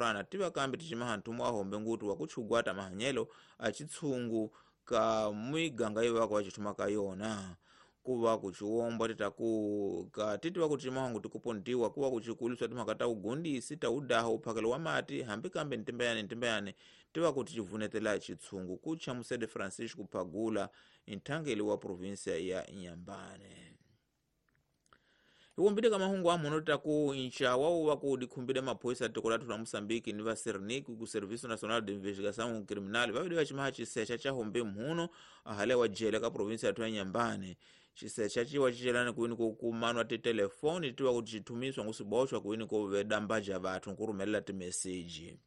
Murana tiva kambe ticimaha nthumo wa hombe ngutu wa kutchugwata mahanyelo a chitsungu ka miganga ivako vacithuma ka yona kuva kuciwombwa titaku ka titi vakucimaha nguti kupontiwa kuva kucikuliswa timhaka ta ugundisi ta udaha uphakelo wa mati hambi kambe ntimbayani ntimbayani tiva kuti civunetela chitsungu kuchamusede Francisco Pagula nthangeli wa provinsia ya Inhambane. Iwombile ka mahungu amuno taku nxawa wa ku dikhumbile maphoyisa tiko lathu la Moçambique ni va Sernic ku Serviço Nacional de Investigação Criminal vavili va cimaha cisecha ca hombe mhuno ahale wa jele ka provinsia yathu ya Inhambane. Cisecha ciwa cicelani kuini kukumanwa titelefoni tiwa kuti cithumiswa ngusiboxwa kuini kuvedambaja vathu nkurumelela timeseji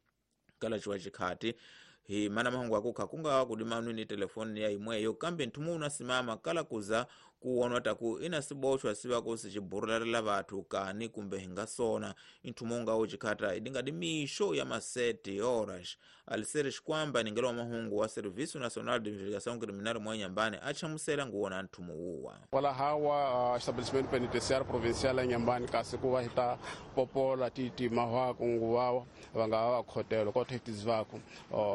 kala ciwa cikhati hi mana mahungu akukha kungawa kudimanwi ni telefoni ya imweyo kambe nthumu unasimama kala kuza kuwonwa taku ina siboxwa siva kusi ciburularela vathu kani kumbe hinga sona nthumu ungawo cikhata idingadi mixo ya masete horas alisere xikwamba ningelo wa mahungu wa Serviço Nacional de Investigação Criminal mwa Inhambane achamusela nguwona nthumu wuwa wala hawa estabelecimento penitenciário provincial ya Inhambane kasi kuva hita popola titi mahwaku nguwawa vanga va khotelo kothe tizivako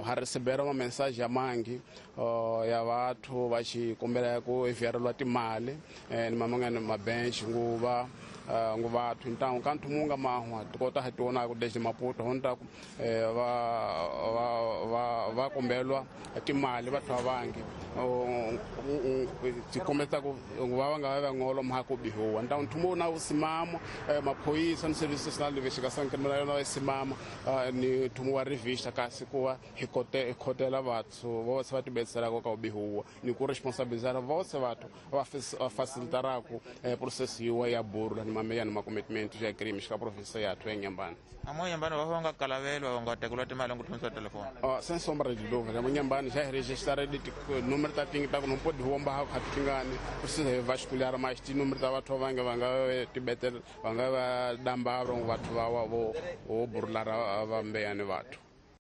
ha receberam uma mensagem ya mangi ya vathu va xikombela ku enviarelwa timali ni mamangana mabench nguva nguvathu ntangu ka nthumu nga mahwa tikota ha tiona ku desde Maputo honta ku va kombelwa timali vathu vangi tikombeta ku va nga va ngolo mha ku bihuwa ntangu nthumu na usimama maphoyisa ni Serviço Nacional de Investigação Criminal na usimama ni nthumu wa revista kasi kuva hi khotela vathu vose va tibetselaka ka ubihuwa ni ku responsabilizar vose vathu va facilitarako processo yiwa ya burula ni mameya ni makomitimento ya crime ka province yathu ya Inhambane. Amo Inhambane va nga kalavelwa va nga tekelwa timali ku thomisa telefoni. Sem sombra de dúvida, amo Inhambane já registraram de número ta tinga ta não pode rombar khatingani precisa vasculhar mais ti número ta vathu vanga vanga tibetel vanga va damba vathu va wa vo burula va mbeyani vathu.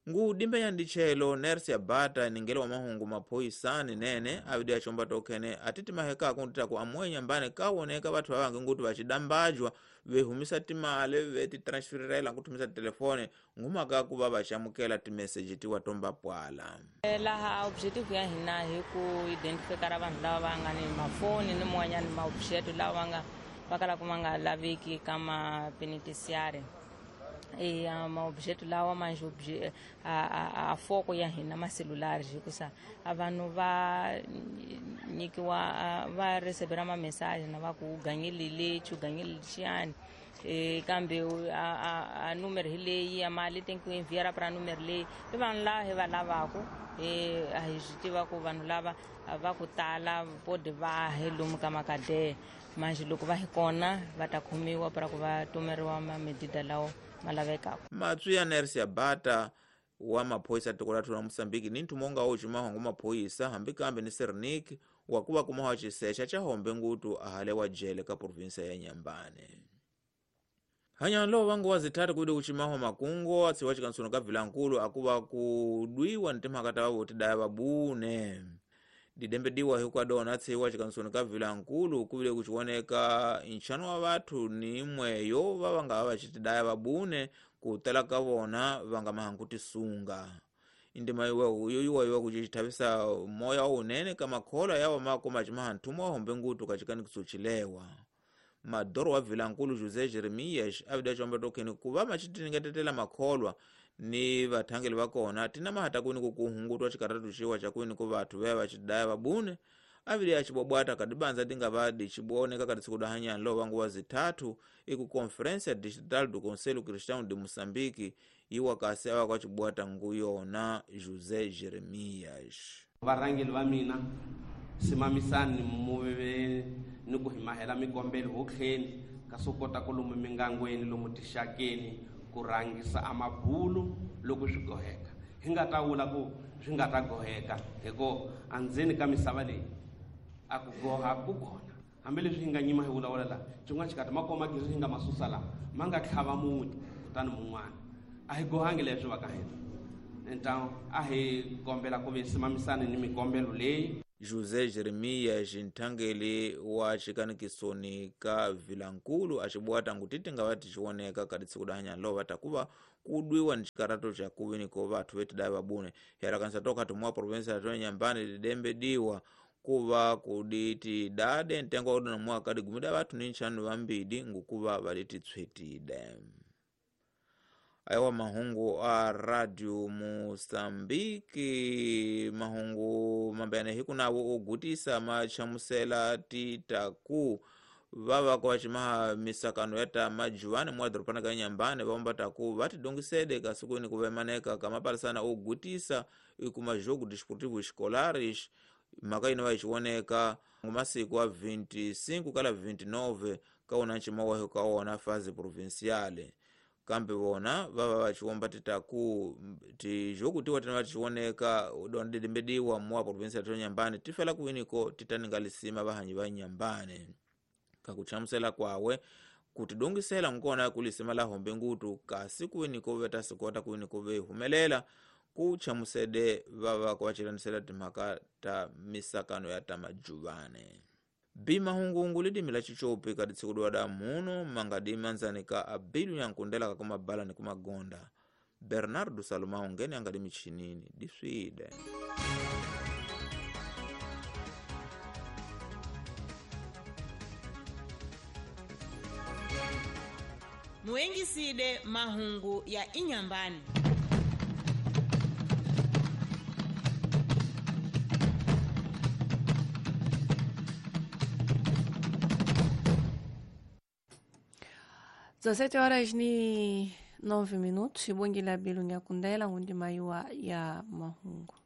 Ngudimbe ya ndichelo Nersia Bata ningelo wa mahungu maphoyisani nene avidi achomba tokhene atiti maheka kuntita ku amwe Inhambane kawoneka vathu vavange nguti vachidambajwa vehumisa timali vetitransferela nkuthumisa telefone ngumaka kuva vachamukela timeseji tiwa tomba pwala. Laha objective ya hina hi ku identifikara vanhu lava va nga ni mafoni ni man'wanyana maobjeto lawa va nga va kalaka ma nga laveki ka mapenitenciário. E maobjeto lawa manje a foko ya hina macelulares hikusa a vanhu va nyikiwa va recebera ma message na va ku ganyile lexi ganyile lexiyani kambe a número hi leyi ya mali tem que enviar para número leyi i vanhu lava hi va lavaku a hi swi tiva ku vanhu lava va ku tala pode va hi lomu ka makadeya manje loko va hi kona va ta khomiwa para ku va tumeriwa mamedida lawo malavekako. Matswi ya Nersia Bata wa maphoyisa tiko lathu la Moçambique ni nthumu unga ucimaha ngu maphoyisa hambi kambe ni Sernic wa kuva kumaha cisecha ca hombe ngutu ahale wa jele ka provinsia ya Inhambane. Hanyano vangu wazitatu kuide kucimaha makungo atsiwa cikansuno ka Vilankulu akuva kudwiwa ni timhaka ta vavotidaya vabune. Didembediwa hikwadona atsiwa cikansuno ka Vilankulu kuvile kuciwoneka nxano wa vathu ni imweyo va va nga vacitidaya vabune kutala ka vona va nga mahangu tisunga. Indima yoyiwa yiwa kucithavisa moya wunene ka makhola yawa makoma cimaha nthumu wa hombe ngutu ka cikanikiso cilewa. Madoro wa Vilankulu José Jeremias avida comba tokheni kuva macitiningetetela makholwa ni vathangeli va kona tina mahata kwini kukuhungutwa cikaratu ciwa ca kwini ku vathu veya vacidaya vabune avili acibwabwata kadibanza dinga vadi ciboneka kati siku dahanyani lo vangu wa zithathu iku Conferência Digital do Conselho Cristão de Moçambique iwa kasi awa kwacibwata nguyona José Jeremias. Varhangeli va mina simamisani muve ni ku hi mahela mikombelo hotlheni ka swo kota ku lomu mingangweni lomu tixakeni ku rhangisa amabulu loko swi goheka hi nga ta vula ku swi nga ta goheka hikuva andzeni ka misava leyi a ku goha ku kona hambileswi hi nga nyima hi vulavula laha xin'wana xikati makoma gezi hi nga masusa laha ma nga tlhava muti kutani mun'wana a hi gohangi leswi va ka hina ntangu a hi kombela ku ve simamisani ni mikombelo leyi. José Jeremias nthangeli wa xikanikisoni ka Vilankulu acibwata ngu titi nga va ticioneka ka tsiku dahanya lova takuva kudwiwa ni chikarato cha kuwiniko vathu vetidai vabune herakanisa toka tumwa provinsia ya Inhambane lidembe diwa kuva kuditi dade ntengo wa na kadi gumida vathu ni nchanu vambidi ngukuva valititswetide. Aiwa mahungu a Radio Mosambiki, mahungu mambene hikunawo ogutisa machamusela titaku vava kwa chimaha misakano yata majuwani mwa dhoropana ka Inhambane vaomba taku vatidongisede kasukuini kuvemaneka kamapalisana ogutisa ikuma jogo desportivo escolares mhaka ino vayichioneka masiku a 25 kala 29 kaona nchimawahi kaona fase provinciale. Kambe vona vava vachiomba titaku tijogo tiwa tina vachioneka dondedembediwa mwa provinsia ya Inhambane tifela kuwiniko titaninga vahanyi va Inhambane. Kakuchamusela kwawe kutidongisela nkona kulisema la hombe ngutu kasi kuwiniko vetasikota kuwiniko vehumelela kuchamusede vava kwachilanisela timhaka ta misakano ya tamajuvane. Bimahungungu lidimi la chichopi kaditsikudwa da muno mangadi ka abilu yankundela kakumabala ni kumagonda. Bernardo Salomão ngene angadi michinini diswide. Muengiside mahungu ya Inhambane. Dezessete horas e 9 minutos, ibongile abilu nyakundela ngundi maiwa ya mahungu.